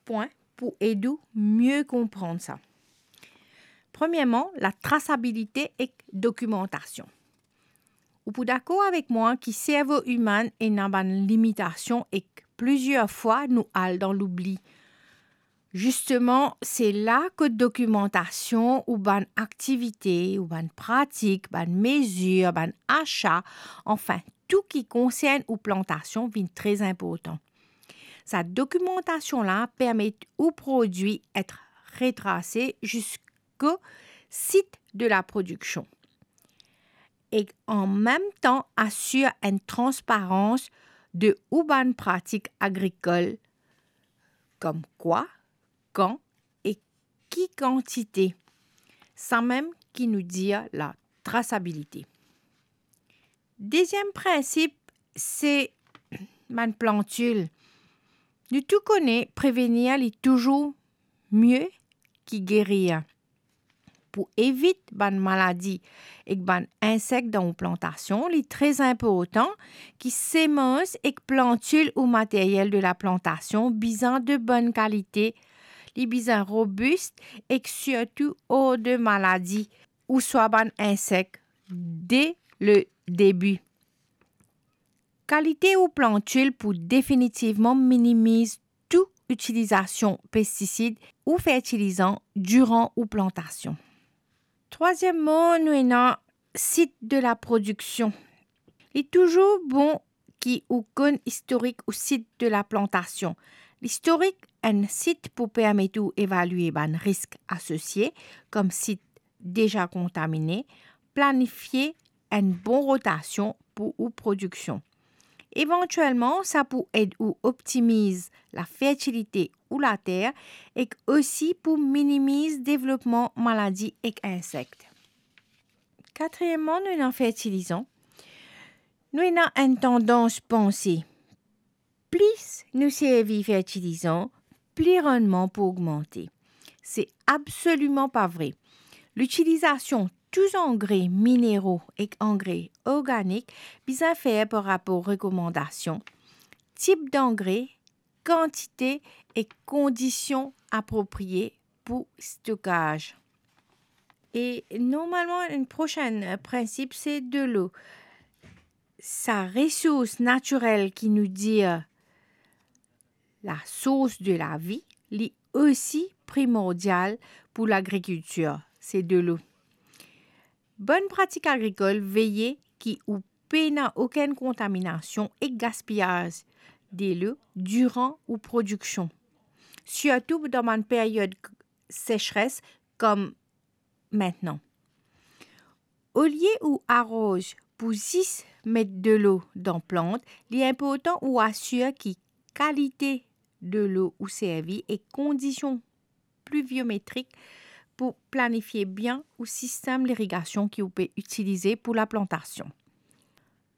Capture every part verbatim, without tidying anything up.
pwin pou ed ou mie konprann sa. Premierman, latrasabilite ek dokimantasion. Ou pou dakor avek mwa ki servo imin ena bann limitasion ek plizier fwa nou al dan loubli. Zisteman, se la kot dokimantasion ou bann aktivite, ou bann pratik, bann mezir, bann asa, anfin, tou ki konsern ou plantasion vinn tre inportan. Sa dokimantasion la permet ou prodwi et retrase ziska sit de laprodiksion. E an mem tan asir enn transparans de ou bann pratik agrikol, kom kwa, kan e ki kantite. Samem ki nou dir latrasabilite. Deziem prinsip, se bann plantil. Nou tou kone prevenir li touzour mie ki gerir. Pou evit bann maladi ek bann insek dan ou plantasion, li tre inportan ki semans ek plantil ou materyel de laplantasion bizin de bonn kalite, li bizin robis ek sirtou or de maladi ouswa bann insek de le debi. Kalite ou plantil pou definitivman minimiz tou itilizasion pestisid ou fertilizan diran ou plantasion. Trwazieman, nou ena sit de laprodiksion. Li touzour bon ki ou konn istorik ou sit de laplantasion. Listorik enn sit pou permet ou evalie bann risk asosie, kom sit deza kontamine, planifie enn bon rotasion pou ou prodiksion. Evantielman, sa pou ed ou optimiz lafertilite ou later ek osi pou minimiz devlopman maladi ek insek. Katriyemman, nou ena fertilizan. Nou ena enn tandans panse, plis nou servi fertilizan, pli rannman pou ogmante. Se absoliman pa vre. Litilizasion tou zangre minero ek angre organik bizin fer par rapor rekomandasion, tip dangre, kantite ek kondision aproprie pou stokaz. E normalman, enn prosin, eh, prinsip, se delo. Sa resours natirel ki nou dir la source de la vie, li osi primordial pou lagrikiltir, se delo. Bonn pratik agrikol, veye ki ou pena okenn kontaminasion ek gaspiyaz delo diran ou prodiksion, sirtou dan bann period sesres kom mintnan. Olie ou aroz pou zis met delo dan plant, li inportan ou asir ki kalite delo ou servi ek kondision pliviometrik pou planifie bien ou sistem lirigasion ki ou pe itilize pou laplantasion.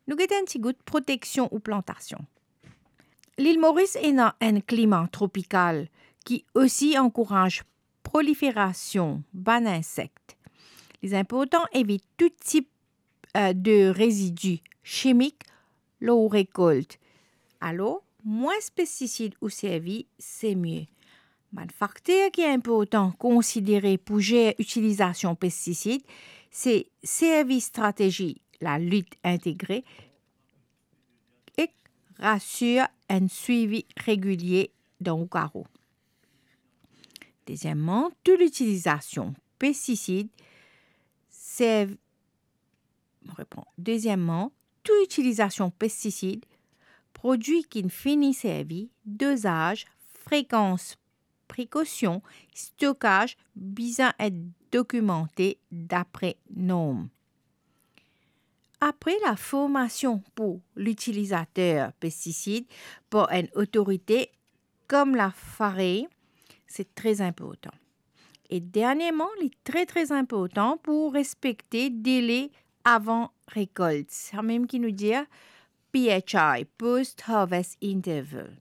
Nou get enn ti gout proteksion ou plantasion. Lil Moris ena enn klima tropikal ki osi ankouraz proliferasion bann insek. Li inportan evit tou tip, eh, de rezidi simik lor ou rekolt. Alor, mwins pestisid ou servi, se mie. Bann fakter ki inportan konsidere pou zer itilizasion pestisid, se servi stratezi lalit integre ek asir enn swivi regilie dan ou karo. Dezieman, tou litilizasion pestisid serv-, mo repran. Dezieman, tou itilizasion pestisid, prodwi ki finn fini servi, dozaz, frekans, prekosion, stokaz bizin et dokimante dapre norm. Apre, laformasion pou litilizater pestisid par enn otorite kom la FAREA, se tre inportan. E dernieman, li tre, tre inportan pou respekte dele avan rekolt, samem ki nou dir P H I, post harvest interval.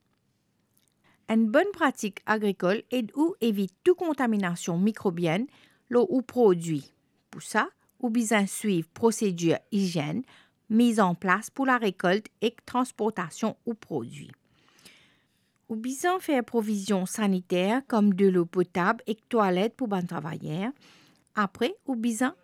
Enn bonn pratik agrikol ed ou evit tou kontaminasion mikrobienn lor ou prodwi. Pou sa, ou bizin swiv prosedir izienn miz an plas pou larekolt ek transportasion ou prodwi. Ou bizin fer provizion saniter kom delo potab ek twalet pou bann travayer. Apre, ou bizin